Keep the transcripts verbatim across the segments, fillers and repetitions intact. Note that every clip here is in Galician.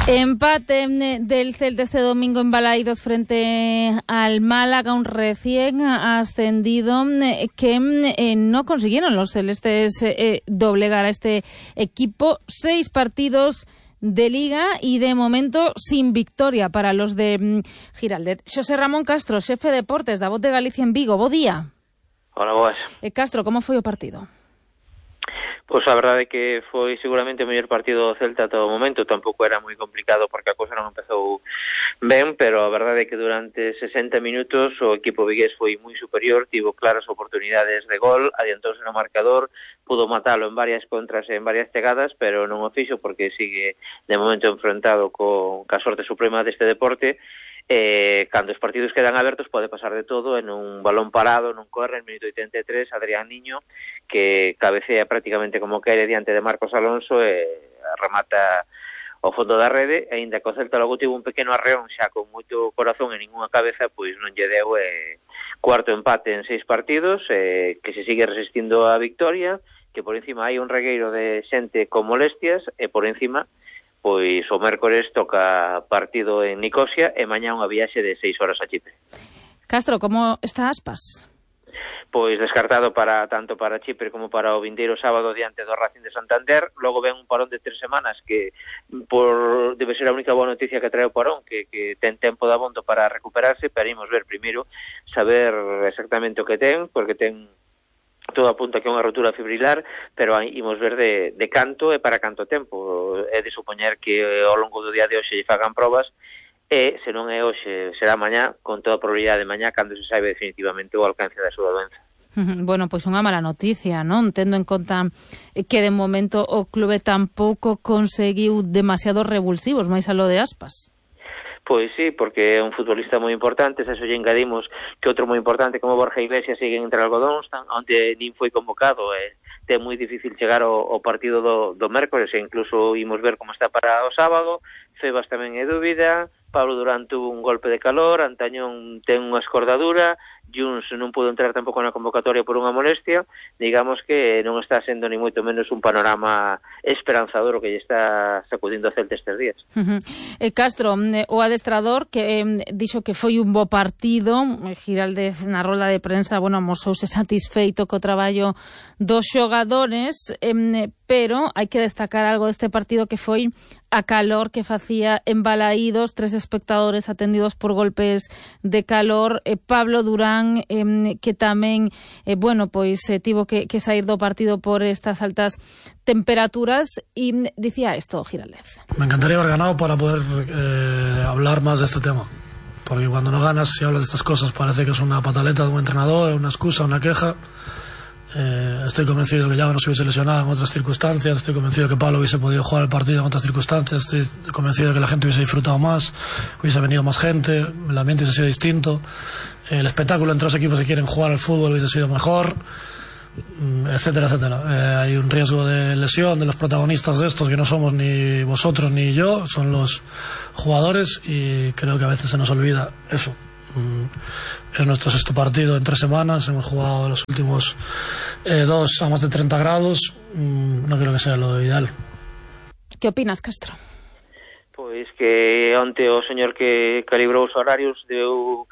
Empate del Celta este domingo en Balaídos frente al Málaga, un recién ascendido que eh, no consiguieron los celestes eh, doblegar a este equipo. Seis partidos de Liga y de momento sin victoria para los de mm, Giraldez. Xosé Ramón Castro, xefe de deportes da Voz de Galicia en Vigo. Bo día. Hola, boas. Eh, Castro, como foi o partido? Pois a verdade é que foi seguramente o mellor partido do Celta a todo momento. Tampouco era moi complicado porque a cousa non empezou ben, pero a verdade é que durante sesenta minutos o equipo vigués foi moi superior, tivo claras oportunidades de gol, adiantouse no marcador, pudo matalo en varias contras e en varias chegadas, pero non o fixo porque sigue de momento enfrentado con a sorte suprema deste deporte. Eh, cando os partidos quedan abertos pode pasar de todo, en un balón parado, nun corre, en minuto oitenta e tres, Adrián Niño, que cabecea prácticamente como quere diante de Marcos Alonso e remata ao fondo da rede, e ainda que o Celta logo tivo un pequeno arreón xa con moito corazón e ninguna cabeza, pois non lle deu eh, cuarto empate en seis partidos, eh, que se sigue resistindo a victoria, que por encima hai un regueiro de xente con molestias, e por encima pois o mércores toca partido en Nicosia e mañá unha viaxe de seis horas a Chipre. Castro, como está Aspas? Pois descartado para tanto para Chipre como para o vindeiro sábado diante do Racing de Santander. Logo ven un parón de tres semanas que por debe ser a única boa noticia que trae o parón, que, que ten tempo de abondo para recuperarse, pero imos ver primeiro, saber exactamente o que ten, porque ten todo apunta que é unha rotura fibrilar, pero imos ver de, de canto e para canto tempo. É de supoñer que ao longo do día de hoxe lle fagan probas, e se non é hoxe, será mañá, con toda a probabilidade de mañá, cando se saiba definitivamente o alcance da súa doenza. Bueno, pois unha mala noticia, non? Tendo en conta que de momento o clube tampouco conseguiu demasiados revulsivos, máis a lo de Aspas. Pois sí, porque é un futbolista moi importante, se eso lle engadimos que outro moi importante como Borja Iglesias sigue entre algodóns, onde nin foi convocado, e é moi difícil chegar ao, ao partido do, do mércores, e incluso imos ver como está para o sábado. Febas tamén é dúbida, Pablo Durán tuvo un golpe de calor, Antañón ten unha escordadura, Juns non pudo entrar tampouco na convocatoria por unha molestia. Digamos que non está sendo ni moito menos un panorama esperanzador o que lle está sacudindo a Celta estes días. Uh-huh. eh, Castro, o adestrador que eh, dixo que foi un bo partido, Giraldez na rola de prensa, bueno, amosouse satisfeito co traballo dos xogadores, eh, pero hai que destacar algo deste partido que foi a calor que facía en Balaídos, tres espectadores atendidos por golpes de calor, eh, Pablo Durán, eh, que tamén, eh, bueno, pois eh, tivo que, que sair do partido por estas altas temperaturas, e dicía isto Giraldez. Me encantaría haber ganado para poder eh, hablar más de este tema, porque cuando no ganas y hablas de estas cosas parece que es una pataleta de un entrenador, una excusa, una queja. Eh, estoy convencido que Yago no se hubiese lesionado en otras circunstancias, estoy convencido que Pablo hubiese podido jugar el partido en otras circunstancias, estoy convencido de que la gente hubiese disfrutado más, hubiese venido más gente, el ambiente hubiese sido distinto, eh, el espectáculo entre los equipos que quieren jugar al fútbol hubiese sido mejor, etcétera, etcétera. Eh, hay un riesgo de lesión de los protagonistas de estos que no somos ni vosotros ni yo, son los jugadores, y creo que a veces se nos olvida eso. Es nuestro sexto partido en tres semanas, hemos jugado los últimos eh, dos a más de treinta grados, no creo que sea lo ideal. ¿Qué opinas, Castro? Pois que onte o señor que calibrou os horarios deu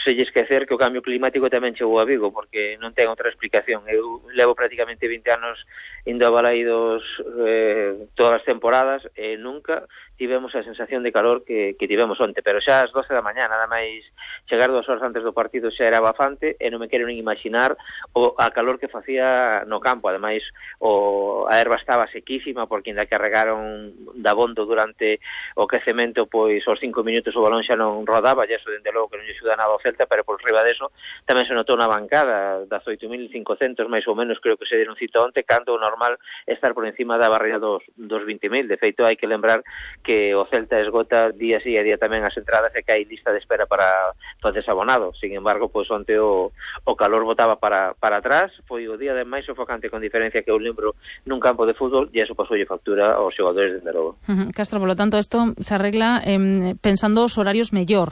se lle esquecer que o cambio climático tamén chegou a Vigo, porque non ten outra explicación. Eu levo prácticamente vinte anos indo a Balaídos eh, todas as temporadas e nunca tivemos a sensación de calor que, que tivemos onte, pero xa ás doce da mañá, nada máis chegar dúas horas antes do partido xa era bafante, e non me quero nin imaginar o a calor que facía no campo. Ademais, o, a erva estaba sequísima, porque ainda carregaron da bondo durante o quecemento, pois aos cinco minutos o balón xa non rodaba, e eso dende logo que non lle axuda nada ao Celta, pero por riba deso tamén se notou na bancada das oito mil cincocentos máis ou menos, creo que se deron cita onte, cando o normal é estar por encima da barreira dos, dos vinte mil. De feito, hai que lembrar que que o Celta esgota día sí e día tamén as entradas, e que hai lista de espera para o desabonado. Sin embargo, pois onte o, o calor botaba para, para atrás, foi o día de máis sofocante con diferencia que eu lembro nun campo de fútbol, e eso pasoulle factura aos xogadores de logo. Uh-huh. Castro, por lo tanto, isto se arregla eh, pensando os horarios mellor.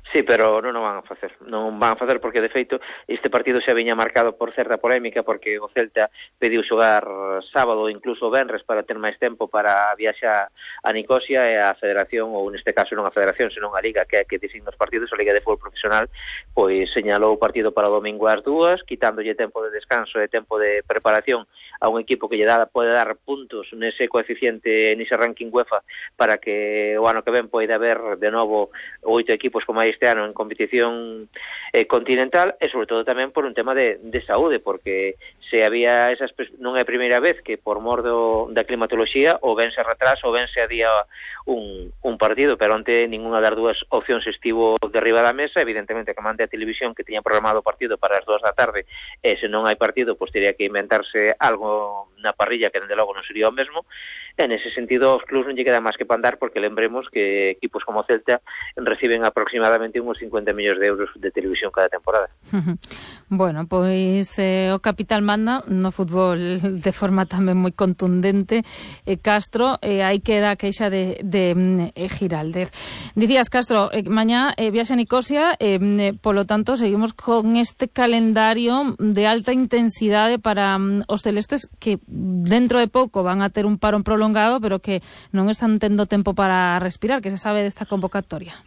Sí, pero non o van a facer. Non van a facer porque, de feito, este partido xa viña marcado por certa polémica porque o Celta pediu xogar sábado ou incluso venres para ter máis tempo para viaxar a Nicosia e a Federación, ou neste caso non a Federación, senón a Liga, que é que designa os partidos, a Liga de Fútbol Profesional, pois señalou o partido para o domingo ás dúas, quitándolle tempo de descanso e tempo de preparación a un equipo que lle dá, pode dar puntos nese coeficiente, nese ranking UEFA, para que o ano que ven poida haber de novo oito equipos como este ano en competición eh, continental, e sobre todo tamén por un tema de, de saúde, porque se había esas, non é a primeira vez que por mor do, da climatoloxía ou ben se retrasa ou ben se adía un, un partido, pero onte ninguna das dúas opcións estivo derriba da mesa. Evidentemente que mande a televisión que tiña programado o partido para as dúas da tarde, e se non hai partido, pois teria que inventarse algo na parrilla que dende logo non sería o mesmo. E nese sentido os clubs non lle queda máis que pandar, porque lembremos que equipos como Celta reciben aproximadamente uns cincuenta millóns de euros de televisión cada temporada. Bueno, pois eh, o capital manda no fútbol de forma tamén moi contundente. eh, Castro, eh, aí queda a queixa de, de eh, Giraldez. Dicías, Castro, eh, mañá eh, viaxe a Nicosia, eh, eh, polo tanto seguimos con este calendario de alta intensidade para um, os celestes, que dentro de pouco van a ter un parón prolongado, pero que non están tendo tempo para respirar. Que se sabe desta convocatoria?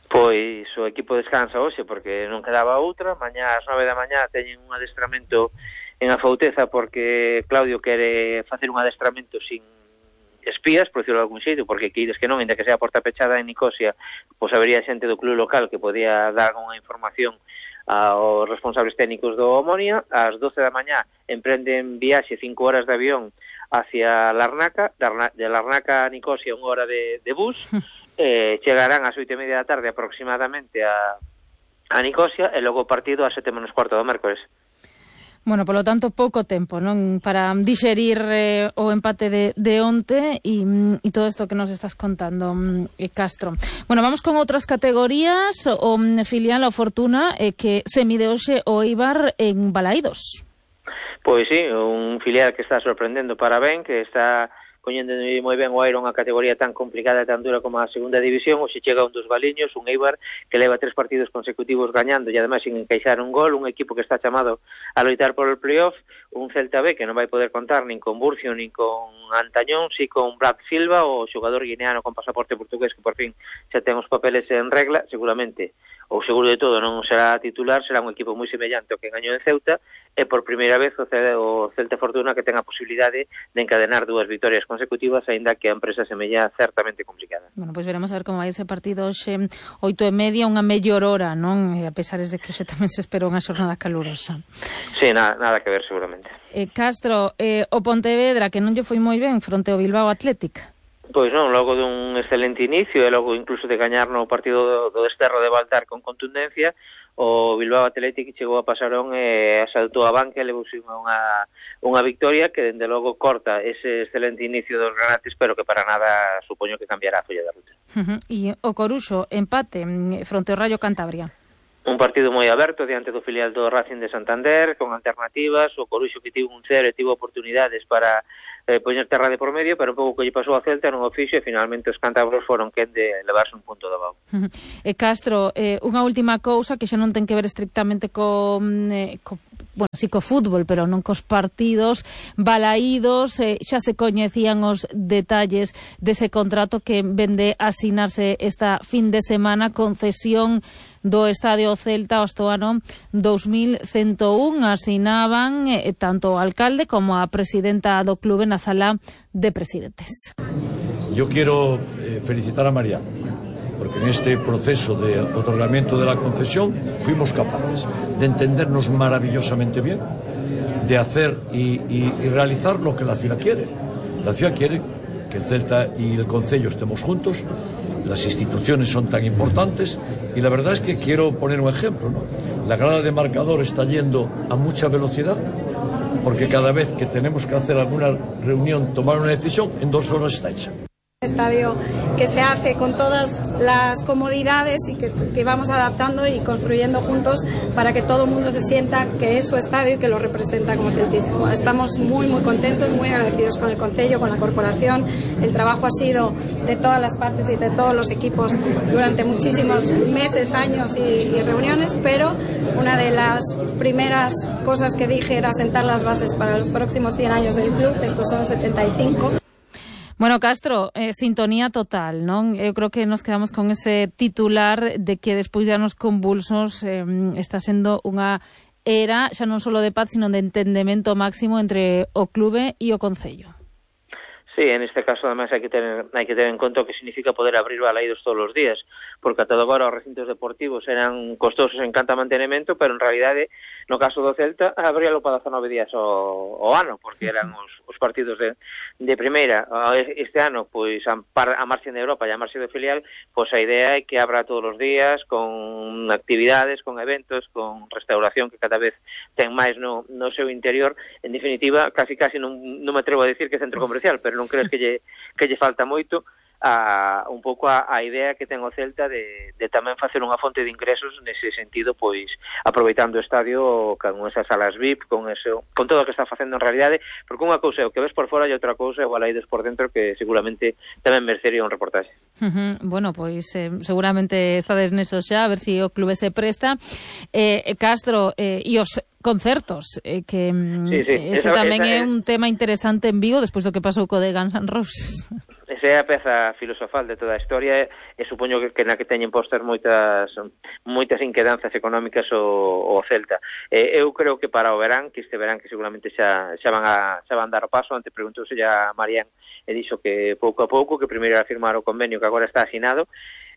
Pois o equipo descansa hoxe porque non quedaba outra. Mañá ás nove da mañá teñen un adestramento en Afouteza porque Claudio quere facer un adestramento sin espías, por decirlo de algún xeito, porque queides que non, ainda que sea a porta pechada en Nicosia, pois habería xente do club local que podía dar alguna información aos responsables técnicos do Omonia. Ás doce da mañá emprenden viaxe cinco horas de avión hacia Larnaca, de Larnaca a Nicosia unha hora de, de bus, eh, chegarán ás oito e media da tarde aproximadamente a, a Nicosia, e logo o partido ás sete menos cuarto do mércores. Bueno, polo tanto, pouco tempo, non, para dixerir eh, o empate de, de onte e, e todo isto que nos estás contando, eh, Castro. Bueno, vamos con outras categorías. O um, filial o Fortuna eh, que se mide hoxe o Eibar en Balaídos. Pois sí, un filial que está sorprendendo para ben, que está coñendo moi ben o Airo, unha categoría tan complicada e tan dura como a segunda división. Hoxe chega un dos baliños, un Eibar que leva tres partidos consecutivos gañando e ademais sin encaixar un gol, un equipo que está chamado a loitar por el playoff, un Celta B que non vai poder contar nin con Burcio nin con Antañón, si con Brad Silva, o xogador guineano con pasaporte portugués que por fin xa ten os papeles en regla. Seguramente, ou seguro de todo, non será titular, será un equipo moi semellante ao que gañou en Ceuta, e por primeira vez o Celta, o Celta Fortuna que ten a posibilidade de encadenar dúas vitorias consecutivas, aínda que a empresa semella certamente complicada. Bueno, pois pues veremos a ver como vai ese partido hoxe, oito e media, unha mellor hora, non? E a pesar de que hoxe tamén se espera unha xornada calurosa. Sí, nada, nada que ver seguramente. Eh, Castro, eh, o Pontevedra que non lle foi moi ben fronte ao Bilbao Athletic. Pois non, logo dun excelente inicio e logo incluso de gañar no partido do, do desterro de Baltar con contundencia, o Bilbao Athletic chegou a pasarón e asaltou a banca e levou unha, unha victoria que dende logo corta ese excelente inicio dos granates, pero que para nada supoño que cambiará a folla da ruta. Uh-huh. E o Coruxo empate fronte ao Rayo Cantabria. Un partido moi aberto diante do filial do Racing de Santander, con alternativas. O Coruxo que tivo un cero e tivo oportunidades para eh, poñer terra de por medio, pero un pouco que lle pasou a Celta non o fixo, e finalmente os cántabros foron quen de levarse un punto de abajo. Uh-huh. E Castro, eh, unha última cousa que xa non ten que ver estrictamente co, eh, co bueno, sí, co fútbol, pero non cos partidos. Balaídos, eh, xa se coñecían os detalles dese contrato que vende a asinarse esta fin de semana, concesión do Estadio Celta hasta o ano dos mil ciento un. Asinaban eh, tanto o alcalde como a presidenta do clube na sala de presidentes. Yo quiero eh, felicitar a María, porque en este proceso de otorgamiento de la concesión fuimos capaces de entendernos maravillosamente bien, de hacer y, y, y realizar lo que la ciudad quiere. La ciudad quiere que el Celta y el Concello estemos juntos, las instituciones son tan importantes, y la verdad es que quiero poner un ejemplo, ¿no? La grada de marcador está yendo a mucha velocidad, porque cada vez que tenemos que hacer alguna reunión, tomar una decisión, en dos horas está hecha. Estadio que se hace con todas las comodidades y que, que vamos adaptando y construyendo juntos para que todo el mundo se sienta que es su estadio y que lo representa como celtismo. Estamos muy muy contentos, muy agradecidos con el concello, con la corporación. El trabajo ha sido de todas las partes y de todos los equipos durante muchísimos meses, años y, y reuniones, pero una de las primeras cosas que dije era sentar las bases para los próximos cien años del club. Estos son setenta y cinco. Bueno, Castro, eh, sintonía total, non? Eu creo que nos quedamos con ese titular de que despois de anos convulsos eh, está sendo unha era xa non só de paz, sino de entendemento máximo entre o clube e o concello. Sí, en este caso además hai que tener hai que ter en conta o que significa poder abrir balaídos todos os días, porque ata agora os recintos deportivos eran costosos en canto a mantenimento, pero en realidade, no caso do Celta, abríalo para dezanove días o, o ano, porque eran os, os partidos de, de primeira. Este ano, pois, a, a marxe de Europa e a marxe de filial, pois a idea é que abra todos os días, con actividades, con eventos, con restauración que cada vez ten máis no, no seu interior. En definitiva, casi casi non, non me atrevo a decir que centro comercial, pero non crees que lle, que lle falta moito a un pouco a, a idea que ten o Celta de, de tamén facer unha fonte de ingresos nese sentido, pois aproveitando o estadio con esas salas V I P, con eso, con todo o que está facendo en realidade, porque unha cousa é o que ves por fora e outra cousa é o balaídos por dentro, que seguramente tamén merecería un reportaxe. Uh-huh. Bueno, pois eh, seguramente estades nesos xa, a ver se si o clube se presta. Eh, Castro, eh, e os concertos, eh, que sí, sí. ese esa, tamén esa, é un tema interesante en Vigo despois do que pasou co de Guns N' Roses. Esa é a peza filosofal de toda a historia e, e supoño que, que na que teñen postas moitas moitas inquedanzas económicas o, o Celta. Eh, eu creo que para o verán, que este verán que seguramente xa, xa van a xa van dar o paso, antes preguntouse a Marián e dixo que pouco a pouco, que primeiro era firmar o convenio que agora está asinado,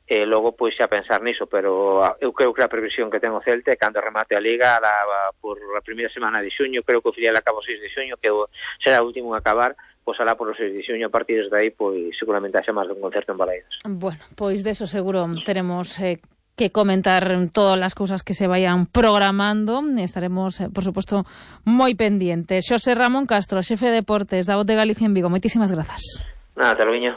e logo pois xa pensar niso, pero eu creo que a previsión que ten o Celta é cando remate a Liga la, por a primeira semana de xuño, creo que o filial acaba o seis de xuño, que será o último a acabar, pois alá por o seis de xuño, a partir de aí, pois seguramente haxa máis dun concerto en Balaídos. Bueno, pois deso seguro teremos eh, que comentar todas as cousas que se vayan programando. Estaremos, eh, por suposto, moi pendientes. Xosé Ramón Castro, xefe de deportes da Voz de Galicia en Vigo, moitísimas grazas. Nada, te lo viño.